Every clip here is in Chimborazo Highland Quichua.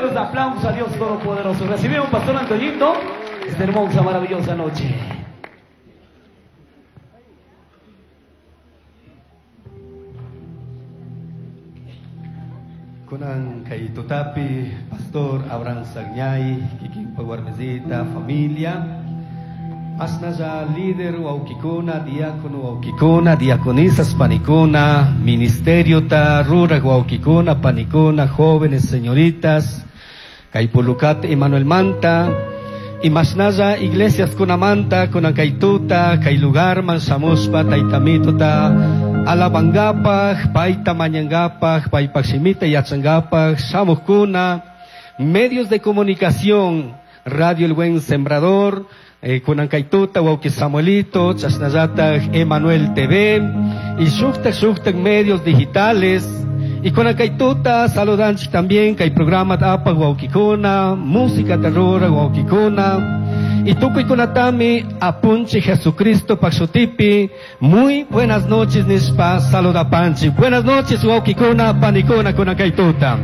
Fuerte los aplausos a Dios Todopoderoso. Recibimos Pastor Antoñito esta hermosa, maravillosa noche. Kunan kay tutapi, Pastor Abraham Sagñay, kikin pagwarmezita, familia. Asnaja líder wawkikuna, diácono wawkikuna, diaconisas panikuna, ministerio ta ruraj wawkikuna, panikuna, jóvenes, señoritas, kay pulukat Emanuel Manta, imasnaya iglesias kunamanta, kunan kay tuta, kay lugar man shamuspa, taytamito ta, alabangapaj, payta mañangapaj, paypaj shimita yachangapaj, shamujkuna, medios de comunicación, Radio El Buen Sembrador, Kunankaituta, Wauki Samuelito, Chasnayata, Emanuel TV, y shuktak shuktak medios digitales. Y Kunankaituta, saludanchik también, kay programa apa Waukikuna, música terror Waukikuna. Y tukuy kunatami, apunchi Jesucristo pakshutipi. Muy buenas noches, nispa, saludapanchi. Buenas noches, Waukikuna, panikuna, Kunankaituta.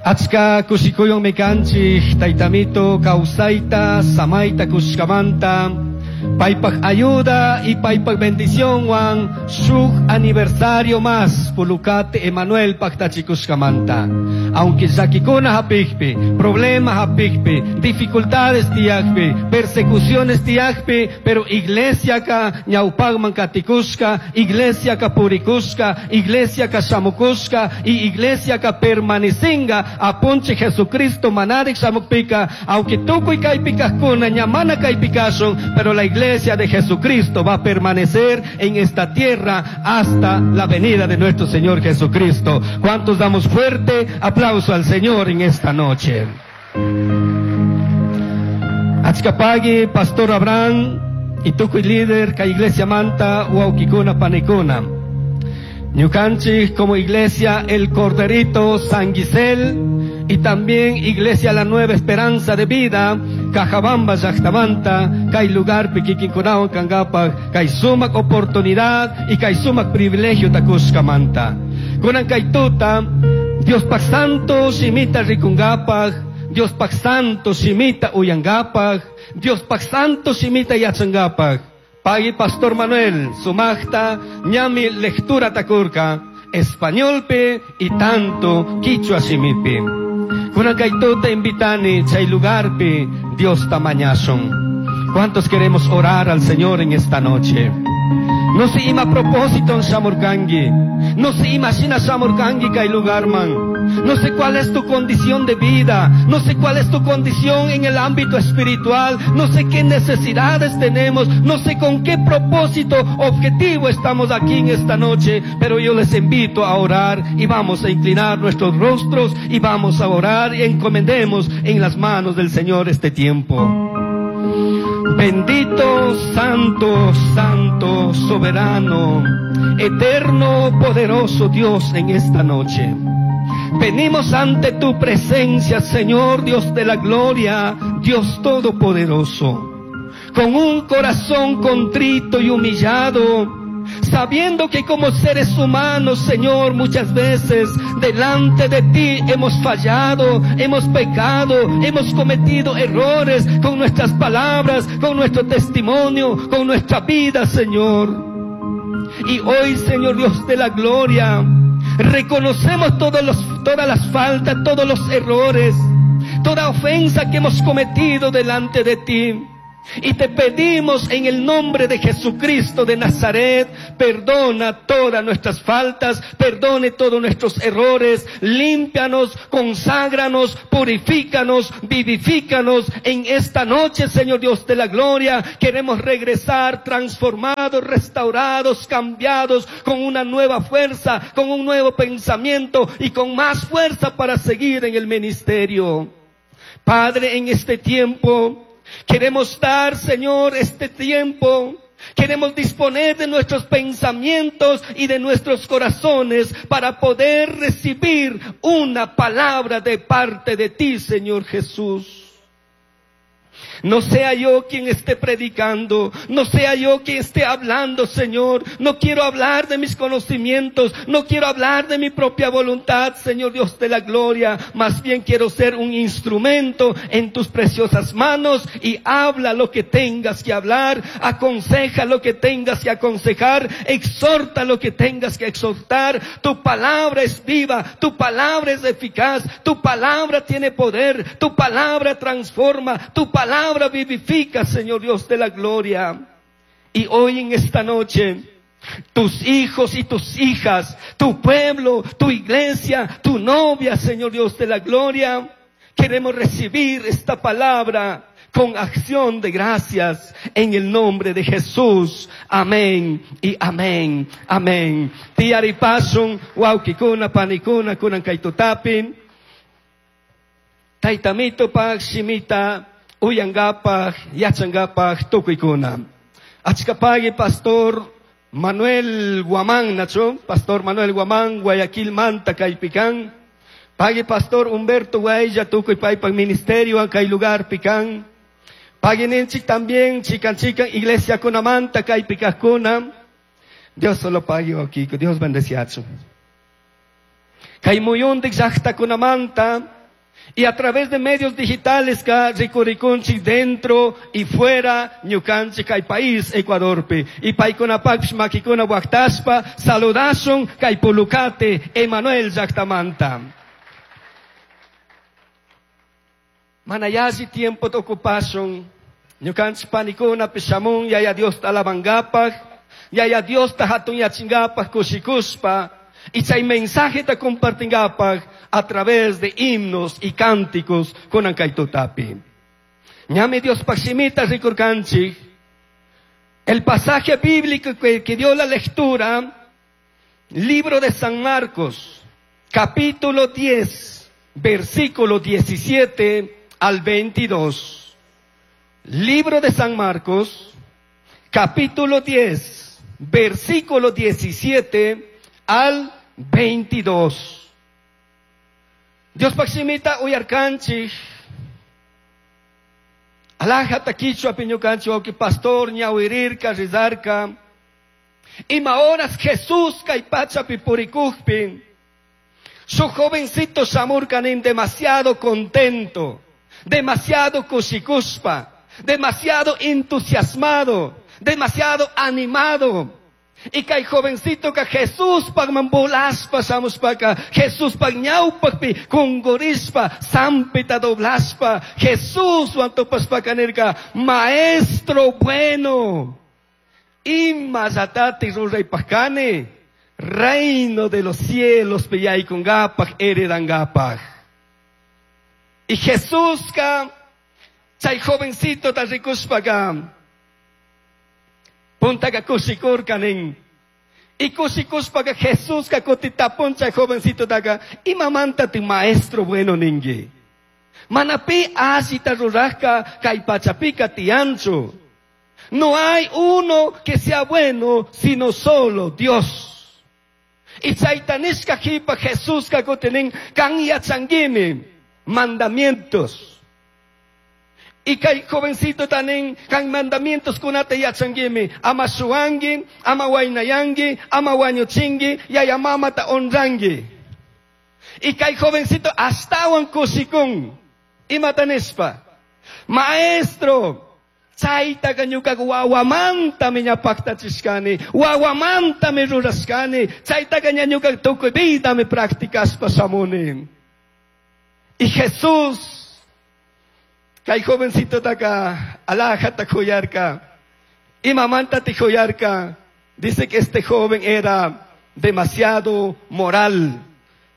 Achka kushikuyun mikanchik, taytamito, kawsayta, samayta kushkamanta, paypaj ayuda y paypaj bendición wan, shuk aniversario más, pulucate Emanuel pactachikushkamanta. Aunque llakikuna hapikpi, problemas hapikpi, dificultades tiyakpi, persecuciones tiyakpi, pero iglesia ka ñawpaqman katikushka, iglesia ka purikushka, iglesia ka shamukushka, y iglesia ka permanecinga, apunche Jesucristo manarik shamukpika, aunque tukuy kaypikajkuna ñamana kaypikashun, pero la iglesia de Jesucristo va a permanecer en esta tierra hasta la venida de nuestro Señor Jesucristo. ¿Cuántos damos fuerte aplauso al Señor en esta noche? Achkapagui, Pastor Abraham, y tukuy líder, ka iglesia manta, wawkikuna panikuna. Ñukanchik como iglesia El Corderito San Gisel y también Iglesia La Nueva Esperanza de Vida, Cajabamba, Llaqtamanta, kay lugar kikinkunawan kankapaj, kay sumak oportunidad y kay sumak privilegio takushkamanta. Kunan kay tuta, Dios pak santo shimita rikunkapaj, Dios pak santo shimita uyankapaj, Dios pak santo shimita yachankapaj. Pagui Pastor Manuel, sumajta, ñami lectura takurka, españolpe y tanto quichua shimipi. Kunan kay tuta invitani, chay lugarpi, Dios tamañason. ¿Cuántos queremos orar al Señor en esta noche? No se ima propósito en shamurkangi. No se imagina shamurkangi kay lugar man. No sé cuál es tu condición de vida. No sé cuál es tu condición en el ámbito espiritual. No sé qué necesidades tenemos. No sé con qué propósito, objetivo estamos aquí en esta noche. Pero yo les invito a orar y vamos a inclinar nuestros rostros y vamos a orar y encomendemos en las manos del Señor este tiempo. Bendito, santo, santo, soberano, eterno, poderoso Dios en esta noche. Venimos ante tu presencia, Señor Dios de la gloria, Dios todopoderoso, con un corazón contrito y humillado, sabiendo que como seres humanos, Señor, muchas veces delante de ti hemos fallado, hemos pecado, hemos cometido errores con nuestras palabras, con nuestro testimonio, con nuestra vida, Señor. Y hoy, Señor Dios de la gloria, reconocemos todas las faltas, todos los errores, toda ofensa que hemos cometido delante de ti. Y te pedimos en el nombre de Jesucristo de Nazaret, perdona todas nuestras faltas, perdone todos nuestros errores, límpianos, conságranos, purifícanos, vivifícanos en esta noche, Señor Dios de la gloria. Queremos regresar transformados, restaurados, cambiados, con una nueva fuerza, con un nuevo pensamiento y con más fuerza para seguir en el ministerio. Padre, en este tiempo queremos dar, Señor, este tiempo. Queremos disponer de nuestros pensamientos y de nuestros corazones para poder recibir una palabra de parte de ti, Señor Jesús. No sea yo quien esté predicando, no sea yo quien esté hablando, Señor. No quiero hablar de mis conocimientos, no quiero hablar de mi propia voluntad, Señor Dios de la gloria. Más bien quiero ser un instrumento en tus preciosas manos y habla lo que tengas que hablar, aconseja lo que tengas que aconsejar, exhorta lo que tengas que exhortar. Tu palabra es viva, tu palabra es eficaz, tu palabra tiene poder, tu palabra transforma, tu palabra vivifica, Señor Dios de la gloria. Y hoy en esta noche, tus hijos y tus hijas, tu pueblo, tu iglesia, tu novia, Señor Dios de la gloria, queremos recibir esta palabra con acción de gracias en el nombre de Jesús. Amén y amén. Amén. Tiyaripasun, wawkikuna, panikuna, kunan kaytutapin. Taytamitopaj, shimita, uyangapaj, yachangapaj, tukuykuna. Achkapagui, Pastor Manuel Guamán, Nacho, Pastor Manuel Guamán, Guayaquil Manta, Kaypican. Pagui Pastor Humberto Guaya, tukuy paypak ministerio, kay lugar pican. Pagui ninchik también, chican chican, iglesia kunamanta, kaypikajkuna. Dios solo pague, Kiko, Dios bendeciacho. Kay muyundik llaqtakunamanta, y a través de medios digitales ka rikurikunchik dentro y fuera ñukanchik kay país Ecuadorpi. Y paykunapaqpish makikuna waqtaspa saludashun kay Pulucate Emanuel llaqtamanta. Mana yalli tiempo ocupashun ñukanchik panikuna shamun yaya Diosta alabangapaq, yaya Diosta hatunyachingapaq kushikuspa. Y chay mensaje ta compartingapaq a través de himnos y cánticos kunan kay tutapi. Ñami Dios shimita rikurkanchik. El pasaje bíblico que dio la lectura, libro de San Marcos, capítulo 10, versículo 17 al 22. Libro de San Marcos, capítulo 10, versículo 17 al 22. Dios pakshimita uyarkanchik. Alaja takichwa piñukanchik wawki pastor ñawirirka rizarka. Ima horas Jesús kay pachapi purikujpi. Su jovencito shamurkanin demasiado contento, demasiado kushikuspa, demasiado entusiasmado, demasiado animado. Y kay jovencito ka Jesús pagmambulaspa shamushpaka, Jesús pagñawpakpi kungurispa, sampita doblaspa, Jesús wantupaspaka nirka, maestro bueno, ima llatati ruraypaqkani, reino de los cielos piyaykunkapaq, heredankapaq. Y Jesús ka, chay jovencito ta rikushpaka, puntaka kushikurka nin. Y kushikushpaka Jesús ka kutitapun chay jovencito taka, imamanta ti maestro bueno ningi. Manapi allita rurajka kay pachapika tianchu. No hay uno que sea bueno, sino solo Dios. Y chaytanishka jipa Jesús ka kutinin kan yachanguimi mandamientos. Y kay jovencito tanin kan mandamientos kunata yachanguimi ama shuangi, ama wainayangi, ama wañuchingi, yaya mamata honrangi. Y kay jovencito astawan kushikun. Imatanispa. Maestro, chaytaqa ñukaqa wawamantami ña paqtachishkani, wawamantami rurashkani, chaytaqa ña ñukaqa tukuy vidami practicashpa shamuni. Y Jesús, kay jovencito taka alajata khuyarka, imamanta tikhuyarka, dice que este joven era demasiado moral,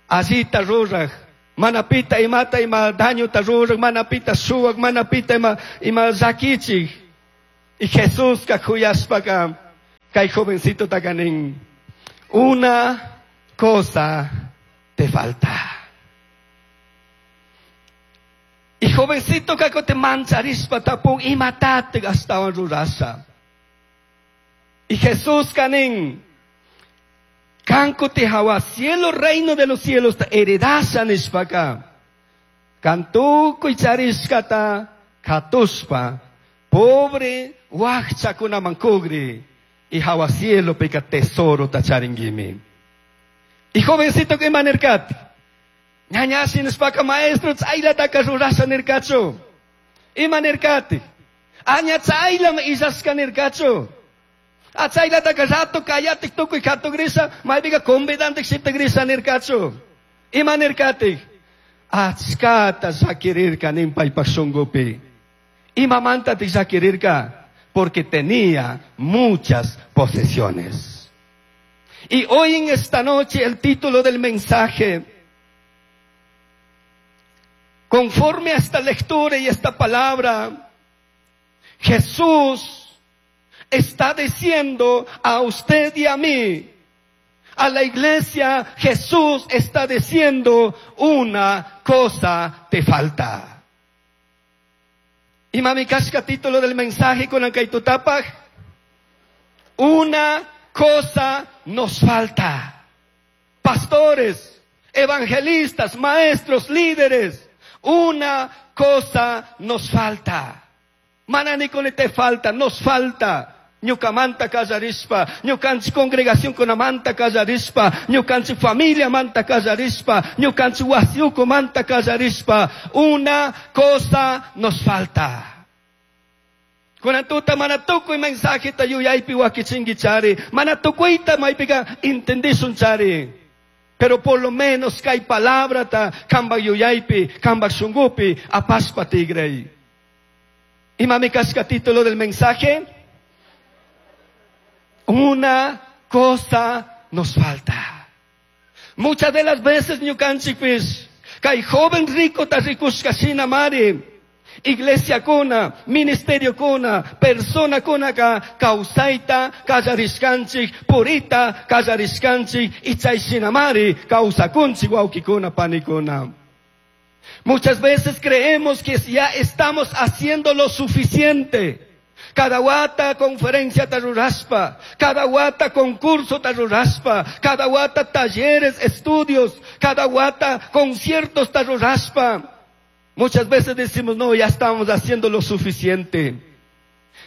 allita ruraj, manapita imata ima daño ta ruraj, manapita suwak, manapita ima llakichik. Y Jesús ka khuyashpaka, kay jovencito takanin, una cosa te falta. Y jovencito kako te mancharispa tapun imatate gastawan rurasha. Y Jesús kanin, kanko te hawa cielo reino de los cielos ta heredasha nishpaka. Kantukuy charishkata Katushpa pobre wakchakunaman kugri y hawa cielo pika tesoro tacharingimi. Y jovencito que nirkati. Ñañasi nispaka maestro chaylataka rurasha nirkachu. Ima nirkati. Aña chaylam illashka nirkachu. Achaylataka rato kayatik tukuy katugrisa, maypiqa convidantik shitagrisa nirkachu. Ima nirkatik. Achkata llakirirka nin paypaq shunqupi. Imamantatik llakirirka. Porque tenía muchas posesiones. Y hoy en esta noche el título del mensaje, conforme a esta lectura y esta palabra, Jesús está diciendo a usted y a mí, a la iglesia, Jesús está diciendo, una cosa te falta. Y mami kashka título del mensaje con el kaitutapaj, una cosa nos falta. Pastores, evangelistas, maestros, líderes, una cosa nos falta. Mana nikuni te falta, nos falta. Ñukamanta kallarispa, ñukanchik congregación kunamanta kallarispa, ñukanchik familia manta kallarispa, ñukanchik wasiuku manta kallarispa. Una cosa nos falta. Kunan tuta mana tukuy mensajeta yuyaypi wakichinki chari, mana tukuyta maypika entendishun chari. Pero por lo menos kay palabrata kambak yuyaypi, kambak shungupi, apashpa tigray. Imami kashka título del mensaje. Una cosa nos falta. Muchas de las veces ñukanchikpis, kay joven rico ta rikushka shina mari, iglesia kuna, ministerio kuna, persona kuna ka kawsayta kallarishkanchik, purita kallarishkanchik, y chay shina mari kawsakunchik wawkikuna panikuna. Muchas veces creemos que ya estamos haciendo lo suficiente. Cada wata conferencia taruraspa, cada wata concurso taruraspa, cada wata talleres, estudios, cada wata conciertos taruraspa. Muchas veces decimos, no, ya estamos haciendo lo suficiente.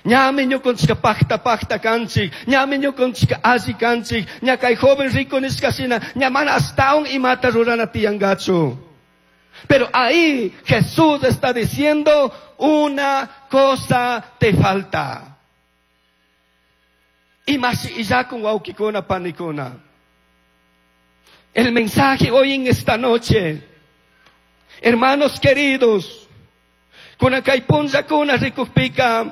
Ñami ñukanchika pakta pakta kanchik, ñami ñukanchika alli kanchik, ña kay joven rico nishka shina, ña mana ashtawan imata rurana tiyangachu. Pero ahí Jesús está diciendo, una cosa te falta. Y más y ya con wawkikuna panikuna. El mensaje hoy en esta noche, hermanos queridos, kuna kay punllakuna rikukpika,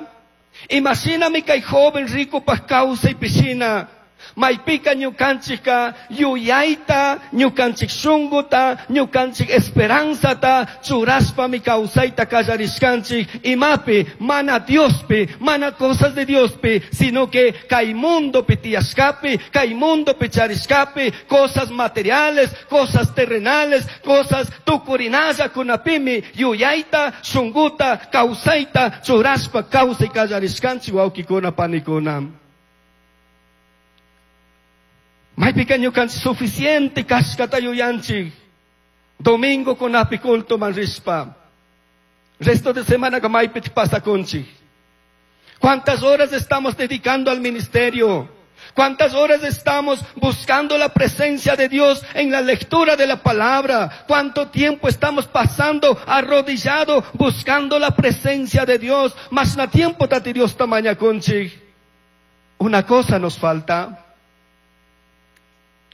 imagíname kay joven rico pa kawsay piscina, maypika ñukanchikka yuyayta, ñukanchik shunguta, ñukanchik esperanzata, churashpami kawsayta kallarishkanchik, imapi, mana Diospi, mana cosas de Diospi, sino que kay mundopi tiyashkapi, kay mundopi charishkapi, cosas materiales, cosas terrenales, cosas tukurinalla kunapimi, yuyayta, shunguta, kawsayta, churashpa kawsay kallarishkanchik wawkikuna panikuna. Maypika ñukanchik suficiente kashkata yuyanchik. Domingo kunapi culto man rishpa. Resto de semana ka maypi pasakunchik. ¿Cuántas horas estamos dedicando al ministerio? ¿Cuántas horas estamos buscando la presencia de Dios en la lectura de la palabra? ¿Cuánto tiempo estamos pasando arrodillado buscando la presencia de Dios? Mas na tiempo tati Dios tamañakunchik. Una cosa nos falta.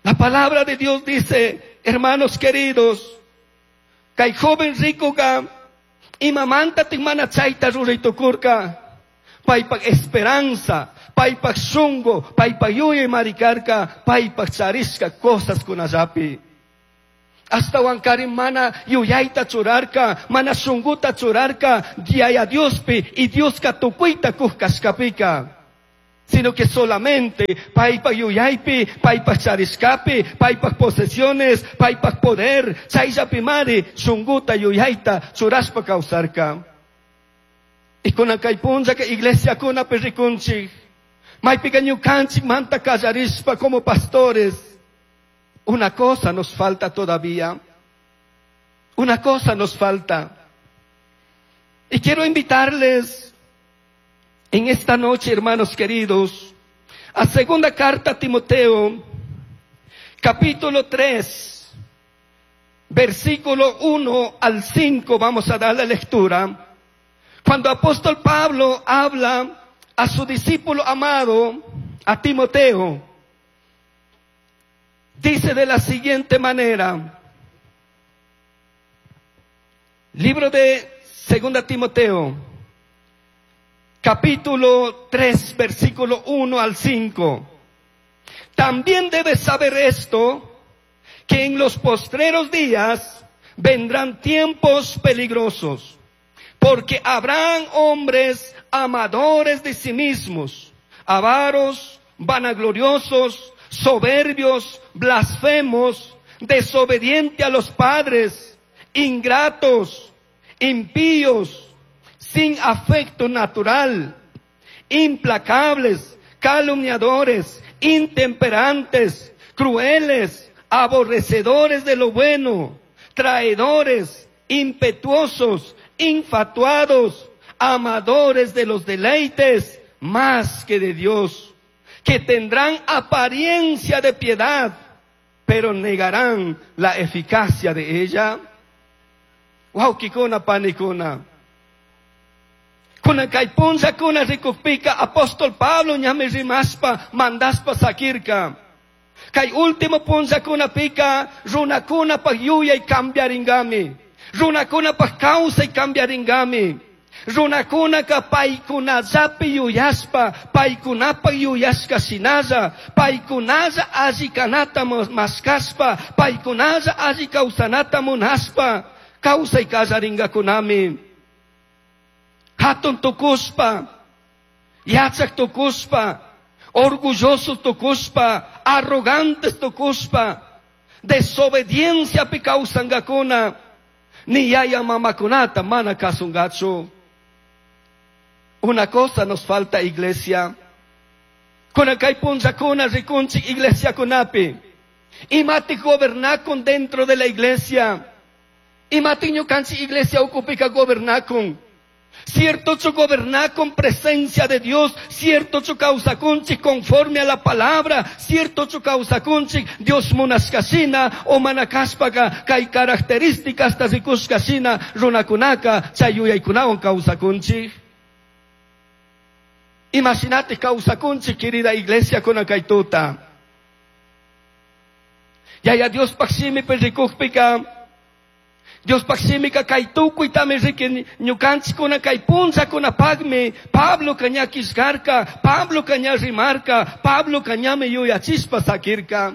La palabra de Dios dice, hermanos queridos, kay joven rico ka, imamanta tikmana chayta ruraytukurka, paypak esperanza, paypak shungu, paypak yuyay marikarka, paypak charishka cosas kunallapi. Ashtawankari mana yuyayta churarka, mana shunguta churarka, Yaya Diospi y Dioska tukuyta kuj kashkapika. Sino que solamente paypak yuyaypi, paypak charishkapi, paypak posesiones, paypak poder, chayllapi mari, shunguta yuyayta churashpa kawsarka. Y kunan kay punllaka iglesia kunapi rikunchik, maypika ñukanchik manta kallarishpa como pastores. Una cosa nos falta todavía. Una cosa nos falta. Y quiero invitarles en esta noche, hermanos queridos, a segunda carta a Timoteo, capítulo 3, versículo 1 al 5, vamos a dar la lectura. Cuando apóstol Pablo habla a su discípulo amado, a Timoteo, dice de la siguiente manera, libro de Segunda Timoteo, capítulo 3, versículo 1 al 5. También debes saber esto, que en los postreros días vendrán tiempos peligrosos, porque habrán hombres amadores de sí mismos, avaros, vanagloriosos, soberbios, blasfemos, desobedientes a los padres, ingratos, impíos, sin afecto natural, implacables, calumniadores, intemperantes, crueles, aborrecedores de lo bueno, traidores, impetuosos, infatuados, amadores de los deleites más que de Dios, que tendrán apariencia de piedad, pero negarán la eficacia de ella. Wawkikuna panikuna. Kuna kay punllakuna rikukpika apóstol Pablo ñami rimaspa mandaspa sakirka. Kay último punllakunapika runakunapaj yuyay cambiaringami. Runakunapaj kawsay cambiaringami. Runakunaka paykunallapi yuyaspa, paykunapaj yuyashka shinalla, paykunalla alli kanata mashkashpa, paykunalla alli kawsanata munashpa, kawsay kallaringakunami. Hatun tukushpa, yachak tukushpa, orgulloso tukushpa, arrogantes tukushpa, desobedienciapi kawsankakuna, ni yaya mamakunata mana kasungachu. Una cosa nos falta, iglesia. Kuna kay punllakuna rikunchik iglesia kunapi. Imati gobernakun dentro de la iglesia. Imati ñukanchik iglesia ukupika gobernakun. Cierto chu gobernakun presencia de Dios, cierto chu kawsakunchik conforme a la palabra, cierto chu kawsakunchik Dios munashkashina o manakashpaka kay características ta rikushkashina runakunaka chay yuyaykunawan kawsakunchik. Imagínate kawsakunchik, querida iglesia, kuna kay tuta. Yaya Dios paj shimipi rikukpika, Dios paj shimika kay tukuytami riki ñukanchikkuna kay punllakunapakmi Pablo ña killkarka, Pablo ña rimarka, Pablo ñami yuyachishpa sakirka.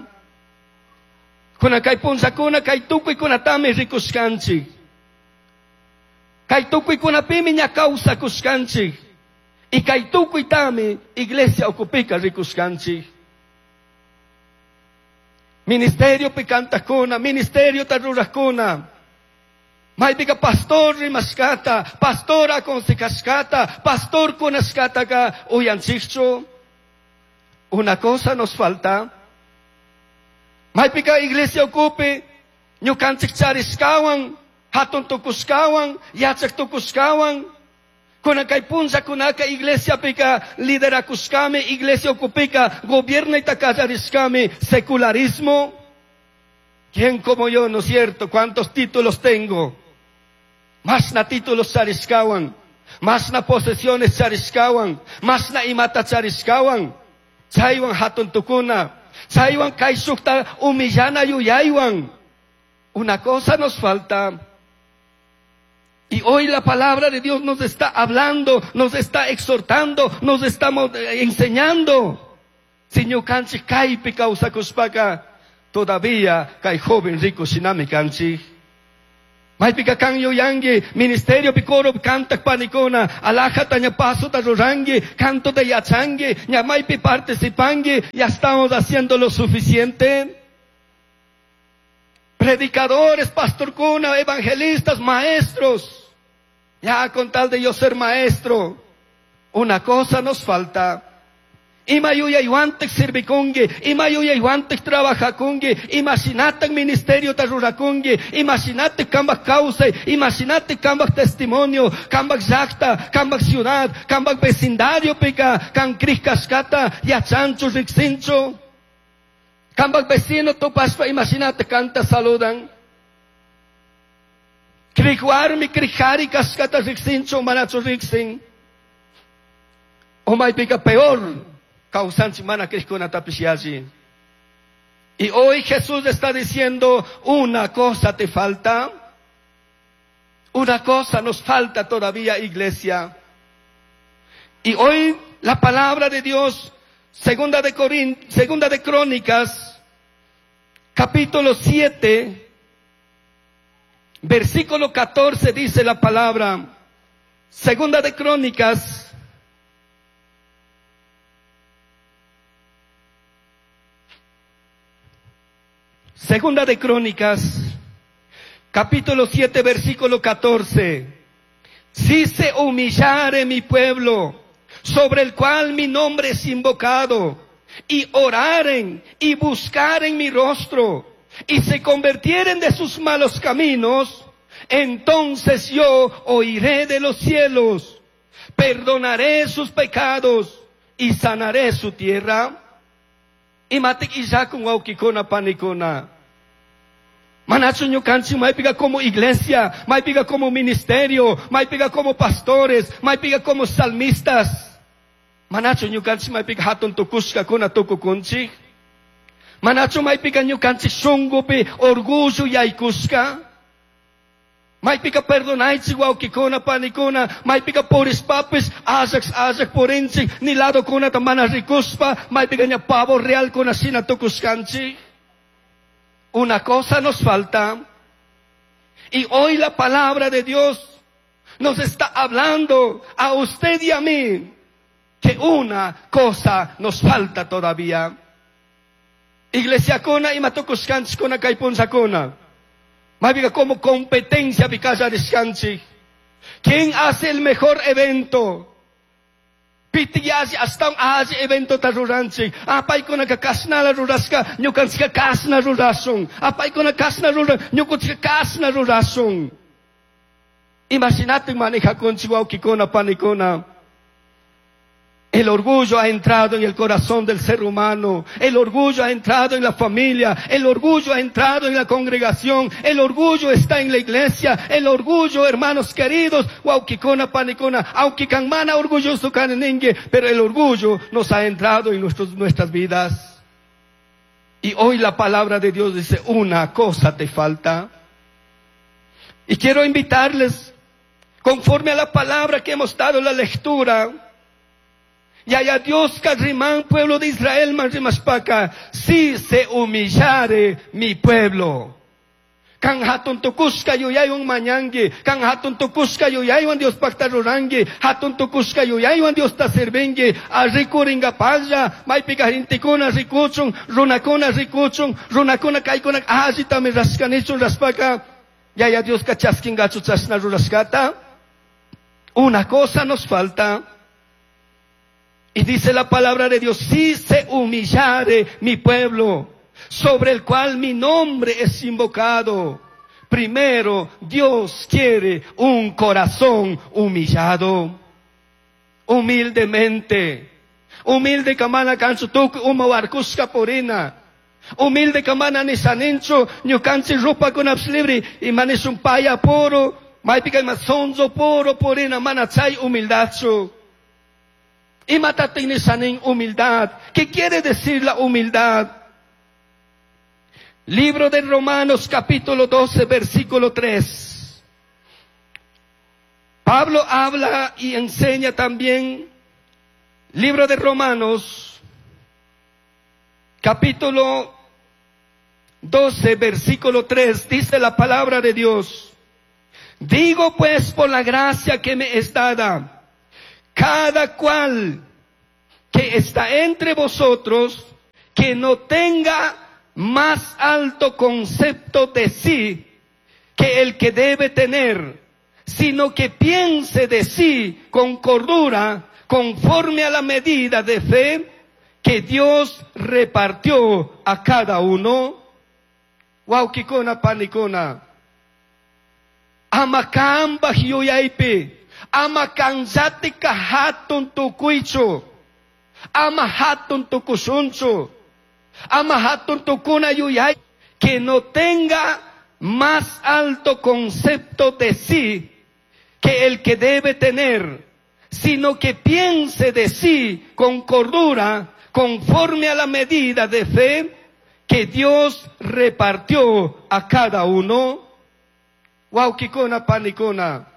Kuna kay punllakuna kay tukuykunatami rikushkanchik. Kay tukuykunapimi ña kawsakushkanchik. Y kay tukuytami iglesia ukupika rikushkanchik. Ministerio picantakuna, ministerio tarurajkuna. Maypika pastor rimashkata, pastor aconsejashkata, pastor kunashkataka uyanchikchu. Una cosa nos falta. Maypika iglesia ukupi, ñukanchik charishkawan, hatun tukushkawan, yachak tukushkawan. Kuna kay punllakunaka iglesia pika liderakushkami, iglesia ukupika gobiernayta kallarishkami, secularismo. ¿Quién como yo, no es cierto? ¿Cuántos títulos tengo? Más na títulos charishkawan, más na posesiones charishkawan, más na imata charishkawan. Chaywan hatun tukuna, chaywan kayshukta humillana yuyaywan. Una cosa nos falta. Y hoy la palabra de Dios nos está hablando, nos está exhortando, nos está enseñando. Si ñukanchik kaypi kawsakushpaka, todavía kay joven rico shinami kanchik. Maypika kan yuyangi, ministerio pi coro kantak panikuna, alajata ña pasota rurangi, canto de yachangi, ña maypi participangi, ya estamos haciendo lo suficiente. Predicadores, pastorkuna, evangelistas, maestros. Ya con tal de yo ser maestro, una cosa nos falta. Ima yuyaywantaj sirvikunki, ima yuyaywantaj trabajakunki, imashinataj ministeriota rurakunki, imashinataj kambaj kawsay, imashinataj kambaj testimonio, kambaj llaqta, kambaj ciudad, kambaj vecindario pika kan krij kashkata yachanchu riksinchu. Kambaj vecino tupashpa imashinataj kanta saludan. Krij warmi, krij qhari kashkata riksinchu, manachu riksin. O maypika peor kawsanchik mana krijkunatapish yalli. Y hoy Jesús está diciendo, una cosa te falta. Una cosa nos falta todavía, iglesia. Y hoy la palabra de Dios, segunda de Crónicas, capítulo 7, versículo 14 dice la palabra. Segunda de Crónicas, Segunda de Crónicas, capítulo 7, versículo 14. Si se humillare mi pueblo, sobre el cual mi nombre es invocado, y oraren y buscaren mi rostro, y se convirtieren de sus malos caminos, entonces yo oiré de los cielos, perdonaré sus pecados y sanaré su tierra. Imatik illakun wawkikuna panikuna. Manachu ñukanchik maypiqa como iglesia, maypiqa como ministerio, maypiqa como pastores, maypiqa como salmistas. Manachu ñukanchik maypiqa hatun tukushkakuna tukukunchik. Manachu maypiqa ñukanchik shunqupi orgullo yaykushka. Maypiqa perdonaychik wawkikuna panikuna, maypiqa purishpapis allaq allaq purinchik, ni ladokunata mana rikuspa, maypiqa ña pavo realkuna shina tukushkanchik. Una cosa nos falta. Y hoy la palabra de Dios nos está hablando a usted y a mí que una cosa nos falta todavía. Iglesia kuna imatukushkanchik kuna kay punllakuna. Maypiqa como competencia pikallarishkanchik. ¿Quién hace el mejor evento? Pitik alli ashtawan alli eventota ruranchik. Paykunaka kashnala rurashka, ñukanchika kashna rurashun. Paykuna kashna ruran, ñukanchika kashna rurashun. Imagínate manejakunchik wawkikuna panikuna. El orgullo ha entrado en el corazón del ser humano. El orgullo ha entrado en la familia. El orgullo ha entrado en la congregación. El orgullo está en la iglesia. El orgullo, hermanos queridos, wawkikuna panikuna, aunque mana orgulloso kaningue, pero el orgullo nos ha entrado en nuestras vidas. Y hoy la palabra de Dios dice, una cosa te falta. Y quiero invitarles, conforme a la palabra que hemos dado en la lectura, y allá Dios carrimán, pueblo de Israel, manrimashpaka, si se humillare mi pueblo. Kan hatun tukushka yuyaywan mañangi, kan hatun tukushka yuyaywan Dios pacta rurangi, hatun tukushka yuyaywan Dios ta sirvingi, a rikuringapalla, maypika gentekuna rikuchun, runakuna rikuchun, runakuna kaykuna allitami rashkanichun rashpaka, yaya Dios ka chaskingachu chashna rurashkata. Una cosa nos falta. Y dice la palabra de Dios, si se humillare mi pueblo, sobre el cual mi nombre es invocado. Primero, Dios quiere un corazón humillado. Humildemente. Humilde kamana kanchu tukuy uma warkushka purina. Humilde kamana nishaninchu, ñukanchik rupakunapish libre, imanishun paya puro, maypika ima sonso puro purina, mana chay humildadchu. Imatatik nishanin humildad. ¿Qué quiere decir la humildad? Libro de Romanos capítulo 12 versículo 3. Pablo habla y enseña también. Libro de Romanos capítulo 12 versículo 3 dice la palabra de Dios. Digo pues por la gracia que me es dada, cada cual que está entre vosotros, que no tenga más alto concepto de sí que el que debe tener, sino que piense de sí con cordura, conforme a la medida de fe que Dios repartió a cada uno? Huauquicuna, panicuna. Ama cambaj yuyaipi, ama kanllatika hatun tucuichu, ama hatun tucushunchu, ama hatun tucuna yuyai, que no tenga más alto concepto de sí que el que debe tener, sino que piense de sí con cordura, conforme a la medida de fe que Dios repartió a cada uno. Huauquicuna, panicuna.